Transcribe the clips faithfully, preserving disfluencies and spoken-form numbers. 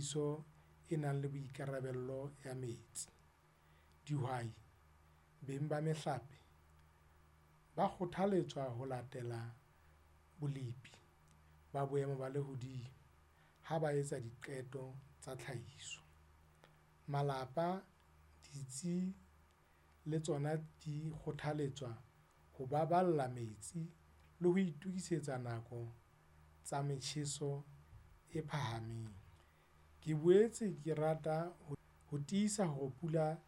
tshebediso e nang le boikarabelo ya metsi. Dihwai, beng ba mehlape, ba kgothaletswa ho latela bolepi ba boemo ba lehodimo ha ba etsa diqeto tsa tlhahiso. Malapa, ditsi le tsona di kgothaletswa ho baballa metsi le ho itokisetsa nako tsa metjheso e phahameng. Ke boetse ke rata ho tiisa hore pula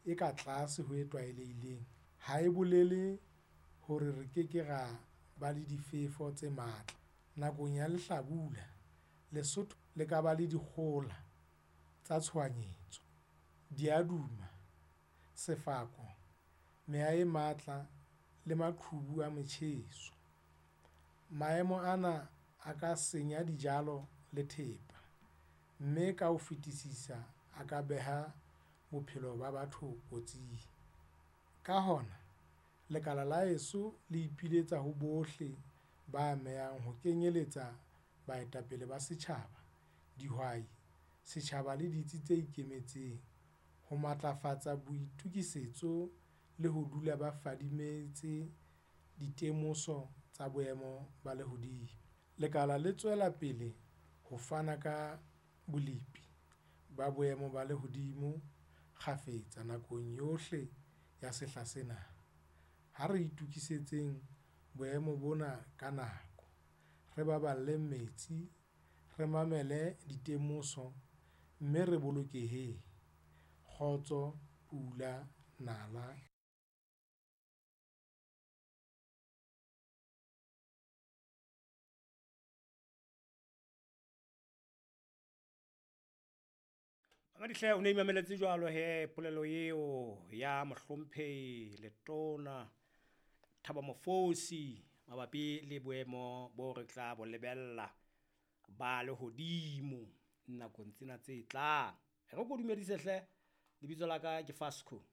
e ka tlase ho e tlwaelehileng ha e bolele hore re ke ke ra ba le difefo tse matla. Nakong ya lehlabula, Lesotho le ka ba le dikgohola tsa tshohanyetso, diaduma, sefako, meya e matla le maqhubu a motjheso. Maemo ana a ka senya dijalo le thepa, mme ka ho fetisisa a ka beha bophelo ba batho kotsing. Ka hona, lekala la heso le ipiletsa ho bohle ba amehang ho kenyeletsa baetapele ba setjhaba, dihwai, setjhaba le ditsi tse ikemetseng, ho matlafatsa boitokisetso le ho dula ba fadimehetse ditemoso tsa boemo ba lehodimo. Lekala le tswela pele ho fana ka bolepi ba boemo ba lehodimo kgafetsa nakong yohle ya sehla sena. Ha re itokisetseng boemo bona ka nako, re baballeng metsi, re mamele ditemoso mme re bolokeheng. Kgotso, pula, nala. Mamadihle o ne imameletse jwalo he polelo eo ya mohlomphehi Letona Thabo Mofosi mabapi le boemo bo re tla bo lebella ba lehodimo nakong tsena tse tlang. E re ko dumedise hle, lebitso la ka ke Fasco.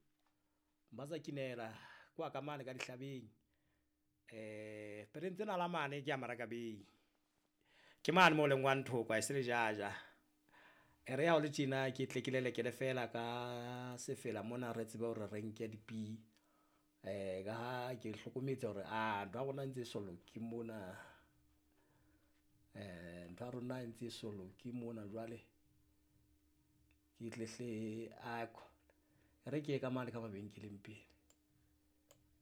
Mbatsa Kinela kwa ka mane ka dihlabeng. Eh pereng tsena la mane ke ya Maraka Bay. Ke mane mo leng wa nthoko ha e se le jaja. E re ha o le tjena ke tle ke lelekele fela ka sefela mona re tsebe hore re nke dipi. Eh ka ha ke hlokometse hore ah ntho ya rona e ntse e so loke mona. Eh ntho ya rona e ntse e so loke mona jwale. Ke tle hle a e re ke ye ka mane ka mabenkeleng pele.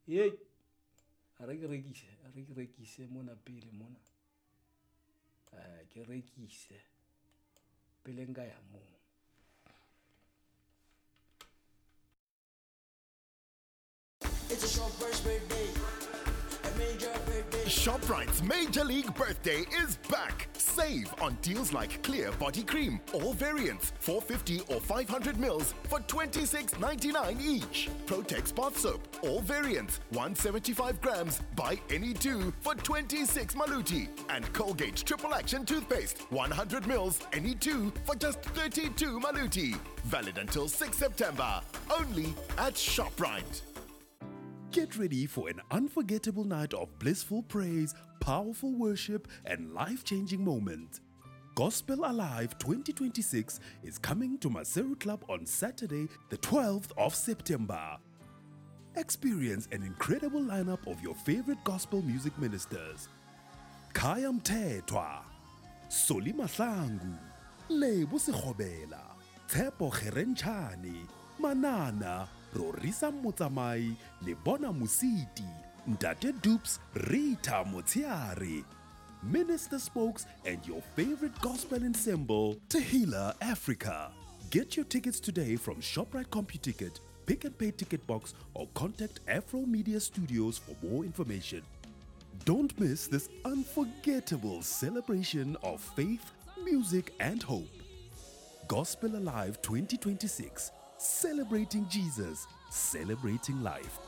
Ye a re ke rekise, a re ke rekise mona pele mona. Eh ke rekise pele nka ya moo. It's a Shoprite's birthday. A major birthday. Shoprite's Major League Birthday is back. Save on deals like Clear Body Cream, all variants, four fifty or five hundred mils for twenty-six ninety-nine each. Protex Bath Soap, all variants, one seventy-five grams, buy any two for twenty-six maluti. And Colgate Triple Action Toothpaste, one hundred mils, any two for just thirty-two maluti. Valid until sixth September, only at Shoprite. Get ready for an unforgettable night of blissful praise, powerful worship, and life-changing moments. Gospel Alive twenty twenty-six is coming to Maseru Club on Saturday, the twelfth of September. Experience an incredible lineup of your favorite gospel music ministers. Khaya Mthethwa, Solly Mahlangu, Lebo Sekgobela, Tshepo Kgerentshane, Manana, Rorisa Motsamai, Lebona Mositi, Ntate Dupes, Rita Motiare, Minister Spokes, and your favorite gospel ensemble, Tehila Africa. Get your tickets today from Shoprite CompuTicket, Pick and Pay Ticket Box, or contact Afro Media Studios for more information. Don't miss this unforgettable celebration of faith, music, and hope. Gospel Alive twenty twenty-six, celebrating Jesus, celebrating life.